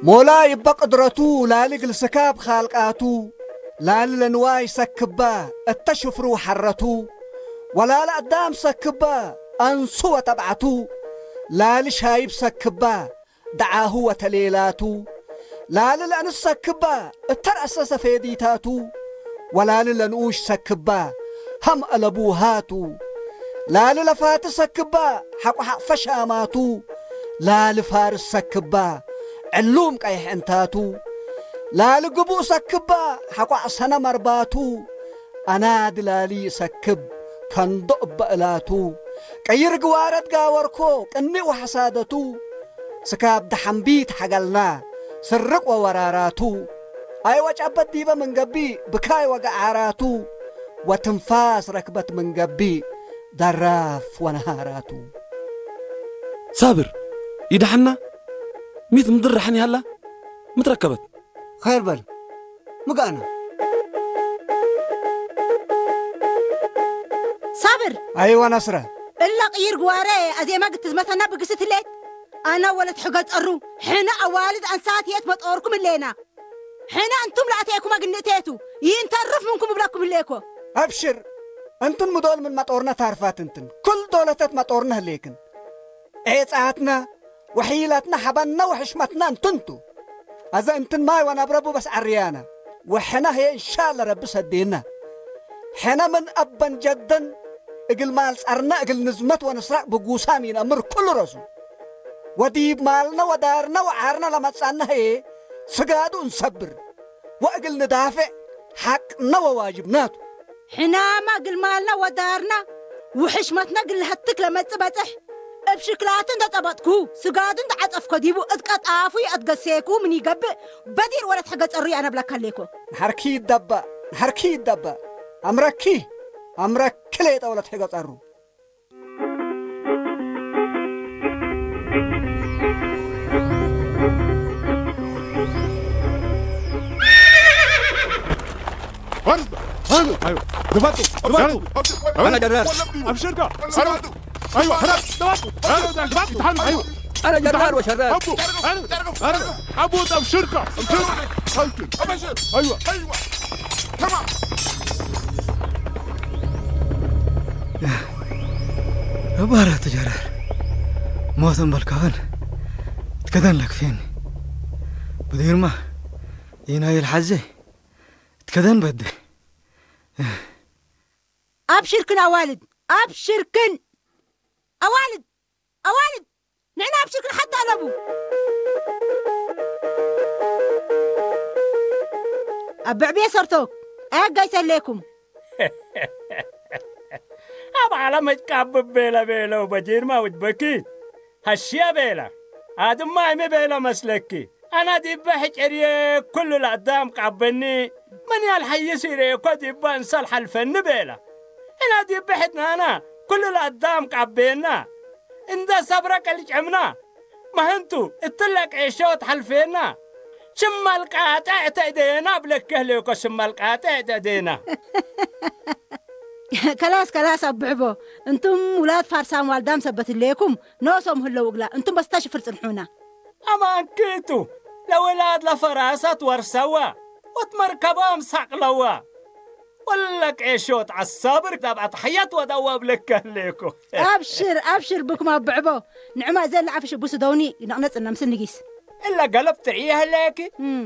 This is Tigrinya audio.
ሞላይ እበ ቅድረቱ ላሊ ግልስካብ ኻልቃቱ፣ ላሊ ለንዋይ ሰክባ እተ ሽፍሩ ሐረቱ፣ ወላሊ ኣዳም ሰክባ ኣንሱ ወተብዓቱ፣ ላሊ ሻይብ ሰክባ ደዓሁ ወተሌላቱ፣ ላሊ ለእንስ ሰክባ እተ ረእሰ ሰፌዲታቱ፣ ወላሊ ለንኡሽ ሰክባ ሃም አለቡሃቱ፣ ላሊ ለፋቲ ሰክባ ሐቆ ሐቕፈ ሻማቱ፣ ላሊ ፋርስ ሰክባ ዕሉም ቀይሕ ዕንታቱ፣ ላሊ ግቡእ ሰክባ ሐቆ ኣሰነ መርባቱ፣ ኣናዲ ላሊ ሰክብ ከንዶ እበ እላቱ፣ ቀይር ግዋረት ጋወርኮ ቅኒእ ወሐሳደቱ፣ ስካብ ደሐምቢት ሐገልና ስርቅ ወወራራቱ፣ ኣይወጨበት ዲበ ምንገቢ ብካይ ወገዓራቱ፣ ወትንፋስ ረክበት ምንገቢ ደራፍ ወነሃራቱ። ሳብር፣ ይድሓና? ሚት ምድር ርሓን ይሃላ? ምትረከበት? ኸይር በል፣ ምግኣና። ሳብር! ኣይወ ነስረ። እላ ቅይር ግዋረ፣ ኣዜማ ግትዝመተና ብግስት ህሌት። ኣና ወለት ሕገ ጸሩ፣ ሕነ ኣዋልድ ኣንሳት የት መጦርኩም እሌና። ሕነ እንቱም ለኣተየኩም ኣግንእቴቱ፣ ይንተርፍ ምንኩም እብለኩም ህሌኮ። ኣብሽር፣ እንትን ምዶል ምን መጦርነ ታርፋት እንትን፣ ኩል ዶለተት መጦርነ ህሌክን። ዔጻትና፣ ወሒላትና፣ ሐበና ወሕሽመትና እንትንቱ። ኣዘ እንትን ማይ ወነብረቡ በስ ዐርያና። ወሕና ህየ እንሻለ ረቢ ሰዴና። ሕነ ምን አበን ጀደን እግል ማል ጸርነ እግል ንዝመት ወንስራቅ ብጉሳም ይነምር ኩሉ ረሱ። ወዲብ ማልነ ወዳርነ ወዓርነ ለመጻነ ህየ ስጋዱ እንሰብር። ወእግል ንዳፍዕ ሐቅነ ወዋጅብናቱ። ሕናማ እግል ማልና ወዳርና ውሕሽመትና እግል ንሀትክ ለመጽእ በጽሕ። እብ ሽክላቱ እንተ ጸበጥኩ፣ ስጋዱ እንተ ዐጸፍኮ ዲቡ እት ቀጣፉ የአትገሴኩ ምን ይገብእ፣ በዲር ወለት ሕገ ጸሩ ያነብለካ ሌኮ። ንሐርኪ ይደበእ፣ ንሐርኪ ይደበእ። አምረኪ፣ አምረኪ ሌጠ ወለት ሕገ ጸሩ። أنا جرار. أبشرك. أيوة. أنا جرار وشرار. أبو أبشرك. أيوة. أيوة. تمام. እባራ ትጀረር ሞተን በልካኸን ትከደን ለክፌን ብዲርማ ይናይል ሓዜ ትከደን በደ። ኣብሽርክን ኣዋልድ፣ ኣብሽርክን ኣዋልድ፣ ኣዋልድ ንዕና ኣብሽርክን ሓታ ኣለቡ። ኣብ ብዕብየ ሰርቶ ኣያጋይሰለይኩም። ኣብ ዓለመጭ ካብ ቤለ ቤለው በጂርማ ውጅበኪ ሀሽየ ቤለ። ኣድማ እሚ ቤለ መስለኪ። ኣና ዲበ ሕጭርየ ኩሉ ለአዳም ቃበኒ። ምን ያልሐይስ ይሬኮ ዲበ እንሰል ሐልፈኒ ቤለ። እና ዲበ ሕድናና ኩሉ ለአዳም ቃቤና። እንደ ሰብረ ቀልጨምና። መህንቱ እትለ ቄሾት ሐልፌና። ሽመል ቃጥዕ ተእደየና ብለከህ ሌኮ ሽመል ቃጥዕ ተእደየና። ከላስ ከላስ ኣብዕቦ። እንቱም ውላድ ፋርሳም ዋልዳም ሰበት ሌኩም ኖሶም ህለው እግላ እንቱም በስታ ሽፍር ጽንሑና። ኣማንኪቱ ለውላድ ለፈራሰት ወርሰዋ ወትመርከባም ሳቅለዋ። ወለ ቄሾት ዐሳብር ዳብ ኣትሐየት ወደዋ ብለከህ ሌኮ። ኣብሽር ኣብሽር ብኩም ኣብዕቦ። ንዕማ እዘ ለዓፊ ሽቡስ ደውኒ ነቕነጽ እነምስል ንጊስ። እለ ገለብ ትርእየ ህለየኪ። እም።